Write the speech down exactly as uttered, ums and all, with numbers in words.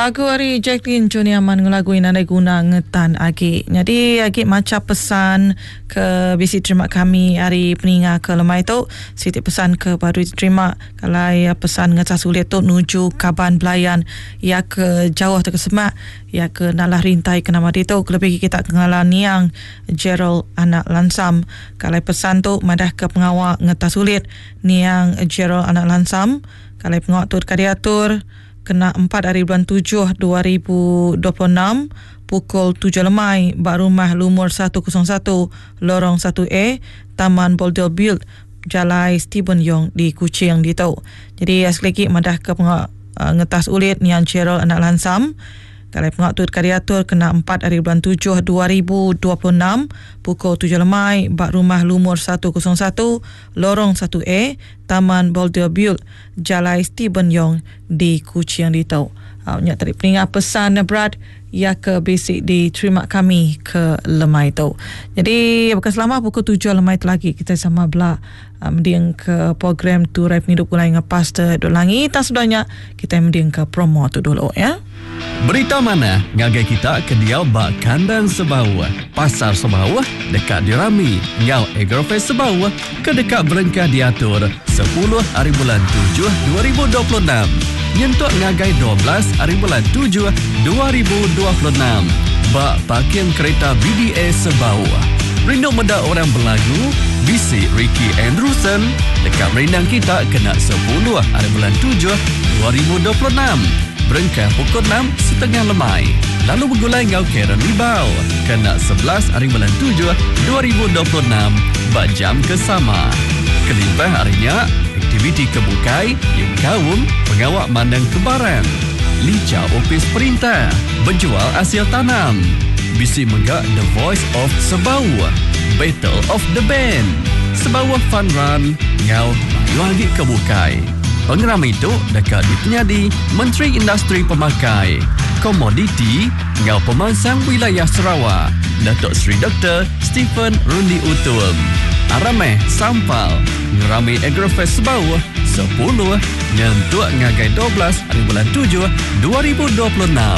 Lagu ari Jacqueline Johnny Aman ngelagu Nadai Guna Ngetan Agi. Jadi agi maca pesan ke bisi terima kami hari peninga ke lemai tu. Siti pesan ke baru diterima kalau pesan ngetas sulit tu nuju kaban belayan ya ke jauh atau ke semak ya ke nalah rintai ke nama ditu kelebih kita kengalan niang Gerald Anak Lansam. Kalau pesan tu madah ke pengawak ngetas sulit niang Gerald Anak Lansam. Kalau pengawak tu dekat diatur kena empat hari bulan tujuh dua ribu dua puluh enam pukul tujuh lemai bak rumah lumur satu kosong satu lorong satu A Taman Boulder Build Jalai Stephen Yong di Kuching ditu. Jadi sekali lagi madah ke pengawak uh, ngetas ulit niang Gerald Anak Lansam. Kalau pengawak tu dekat diatur kena empat hari bulan tujuh dua ribu dua puluh enam pukul tujuh lemai bak rumah lumur satu kosong satu lorong satu A Taman Boulder Build Jalai Stephen Yong di Kuching ditu. Uh, nyak tadi peningat pesan berat ya ke basic diterima kami ke lemai tu. Jadi bukan selama pukul tujuh lemai tu lagi kita sama belak uh, mending ke program Turai Penghidup Gulai dengan Pastor Duk Langi. Tak sudahnya kita mending ke promo tu dulu ya. Berita mana ngagai kita ke dia bak kandang sebawah, pasar sebawah dekat dirami ngau Agrofest sebawah ke dekat berengkah diatur sepuluh hari bulan tujuh dua ribu dua puluh enam. Nyentuk ngagai dua belas hari bulan tujuh dua ribu dua puluh enam. Bak parking kereta B D A sebawah. Rindu meda orang berlagu B C Ricky Andrewson dekat merindang kita kena sepuluh hari bulan tujuh dua ribu dua puluh enam. Berengkah pukul enam setengah lemai. Lalu bergulai ngau Karen Libau kena sebelas hari bulan tujuh dua ribu dua puluh enam bak jam ke sama. Kelimpah harinya aktiviti kebukai yang kaum pengawak mandang kebarang. Lica Opis Perintah berjual hasil tanam. Bisi megak The Voice of Sebawah, Battle of the Band, Sebawah Fun Run, ngau mayu lagi kebukai. Pengeram itu dekat dipenyadi Menteri Industri Pemakai, Komoditi ngau Pemansang Wilayah Sarawak, Datuk Seri Doktor Stephen Rundi Utum. Arameh Sampal ngerami Agrofest Sebawah sepuluh nyentuk ngagai dua belas hari bulan tujuh dua ribu dua puluh enam.